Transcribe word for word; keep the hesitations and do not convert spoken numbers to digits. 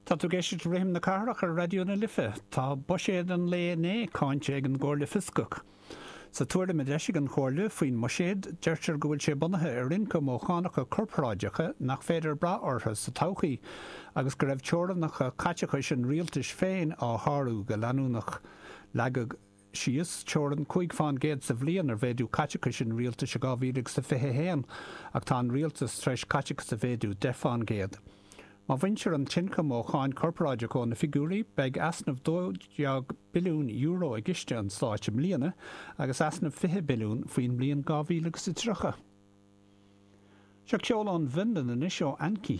Tá tú ag éisteacht le Rithim na Cathrach ar Raidió na Life. Tá buiséad an lae inné cáinte ag an gComhairle Fioscach. Sa tuairim a d'eisigh an Chomhairle faoin mbuiséad, deirtear go bhfuil sé bunaithe ar ioncam ó chánacha corparáideacha nach féidir brath orthu sa todhchaí, agus go raibh teorainneacha caiteachais an rialtais féin á shárú go leanúnach. Leagadh síos teorainn cúig fán gcéad sa bhliain ar mhéadú caiteachais an rialtais i dhá mhíle agus a fiche a haon, ach tá an rialtas tar éis caiteachas a mhéadú deich fán gcéad. Má bhaintear an t-ioncam ó cháin chorparáideach ó na figiúirí, beidh easnamh dó dhéag billiún euro i gciste an stáit i mbliana agus easnamh fiche billiún faoin mbliain dhá mhíle agus a tríocha. Seo ceol ón bhFionlainn anois ó Anki.